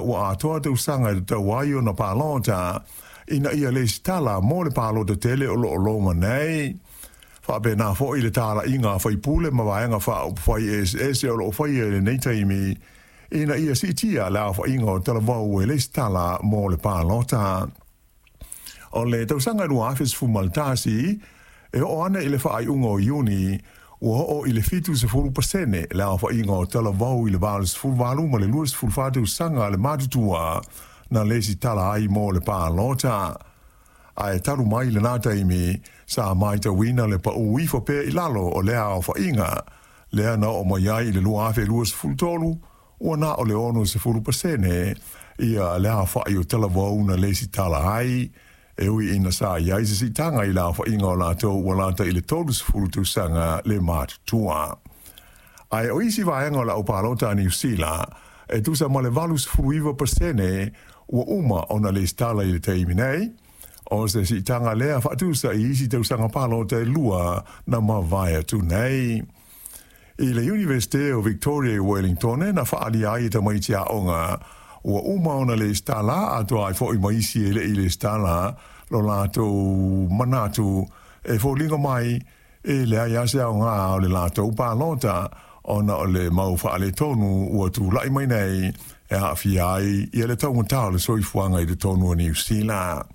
ua atoa tausaga e tatau ai ona palota ina ia lesitala mo le palota tele o loo loma nei. Faapena foi le talaiga a faipule ma vaega faaupufai eseese o loo faia i lenei taimi ina ia siitia le aofaiga o talavou e lesitala mo le palota. O le tausaga 2011, e oo ana i le faaiuga o Iuni, ua oo i le 70% le aofaiga o talavou i le 88 ma le 24 tausaga le matutua na lesitala ai mo le palota. Ae talu mai lena taimi, sa matauina le pau ifo pea i lalo o lea aofaiga, lea na oo mai ai i le 2023, ua na o le 60% ia le aofai o talavou na lesitala ai, e ui ina sa i ai se siitaga i le aofaiga o latou ua lata i le 30 tausaga le matutua. Ae o isi vaega o le aupalota a Niu Sila, e tusa ma le 89% ua uma ona lesitala i le taimi nei, o se siitaga lea faatusa i isi tausaga palota e lua na mavae atu nei. I le Iunivesite o Victoria i Wellington na faaalia ai e tamaiti aoga ua uma ona lesitala atoa ai foi ma isi e le i lesitala lo latou manatu e foliga mai e leai lava se aoga o le latou palota ona o le mau faaletonu ua tulai mai nei e aafia ai ia le taugata o le soifuaga i totonu o Niu Sila.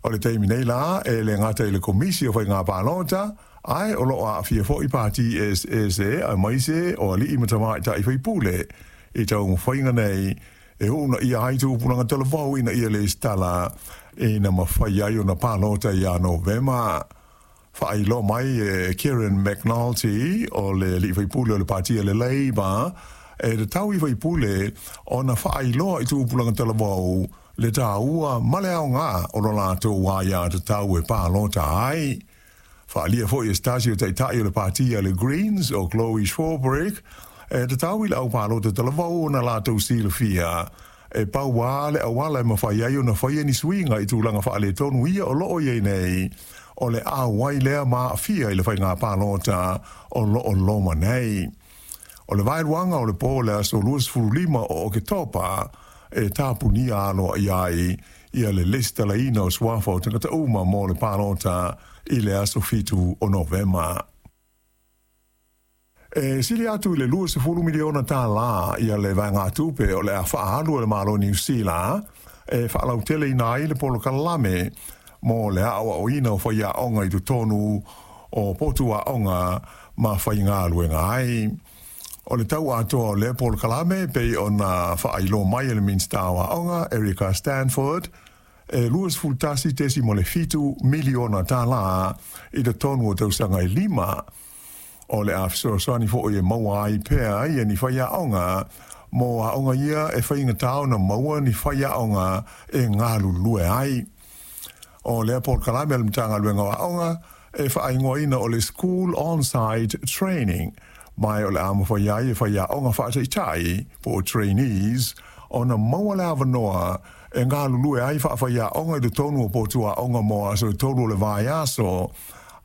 O le taimi nei la, e le gata i le Komisi o Faiga Palota, ae o loo aafia foi pati eseese aemaise o alii ma tamaitai faipule i taumafaiga nei e uunaia ai tupulaga talavou ina ia lesitala ina mafai ai ona palota ia Novema. Faailoa mai e Kieran McNulty o le alii faipule o le pati a le Labour, e tatau i faipule ona faailoa i tupulaga talavou le taua ma le aoga o lo latou aiatatau e palota ai. Faaalia foi e se tasi o taitai o le pati a le Greens o Chloe Swarbrick, e tatau i le aupalota talavou ona latou silafia e pau lava le auala e mafai ai ona faia ni suiga i tulaga faaletonu ia o loo i ai nei, o le auai lea ma aafia i le faiga palota o loo loma nei. O le vaeluaga o le po o le aso 25 o Oketopa e tapunia aloaia ai ia le lesitalaina o suafa o tagata uma mo le palota i le aso 7 o Novema. E sili atu i le $20 miliona ia le vaegatupe o le a faaalu e le Malo o Niu Sila e faalauteleina ai le polokalame mo le aoaoina o faiaoga i totonu o potu aoga ma faigaluega ai. O le tau atoa o lea polokalame pei ona faailoa mai e le Minisita o Aoga Erica Stanford, e $21.7 miliona i totonu o tausaga e 5. O le a fesoasoani foi e maua ai pea ia ni faiaoga mo aoga ia e faigata ona maua ni faiaoga e galulue ai. O lea polokalame a le Matagaluega o Aoga e faaigoaina o le School On-Site Training, ma o le a mafai ai e faiaoga faataitai po o trainees ona maua le avanoa e galulue ai faafaiaoga i totonu o potu aoga mo aso e 3 o le vaiaso,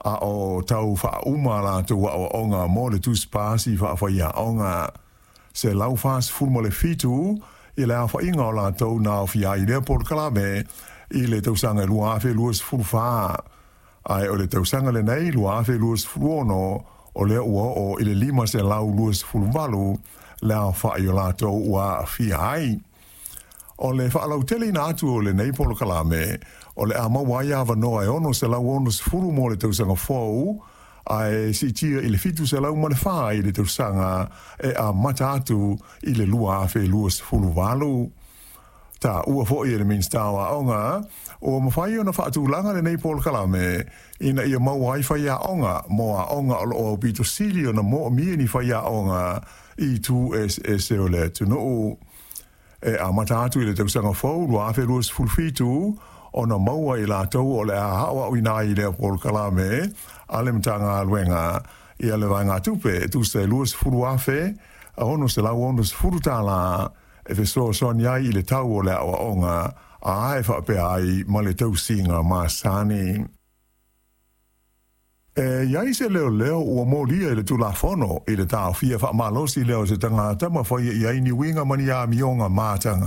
a o tau faauma latou aoaoga mo le tusi pasi faafaiaoga. 147 i le aofaiga o latou na aofia ai i lea polokalame i le tausaga 2024, ae o le tausaga lenei 2026 o lea ua oo i le 528 le aofai o latou ua aafia ai. O le faalauteleina atu o lenei polokalame, o le a maua ai avanoa e 660 mo le tausaga fou, ae siitia i le 704 i le tausaga e amata atu i le 2028. Taua foi e le Minisita o Aoga, ua mafai ona faatulaga lenei polokalame ina ia maua ai faiaoga mo aoga o loo aupito sili ona moomia ni faiaoga i itu eseese o le atunuu. E amata atu i le tausaga fou 2027 ona maua i latou o le a aoaoina ai i lea polokalame a le Matagaluega ia le vaegatupe e tusa e $20,660 e fesoasoani ai i le tau o le aoaoga a e faapea ai ma le tausiga masani. E i ai se leoleo ua molia i le Tulafono i le taofia faamalosi lea o se tagata ma faia i ai ni uiga ma ni amioga mataga.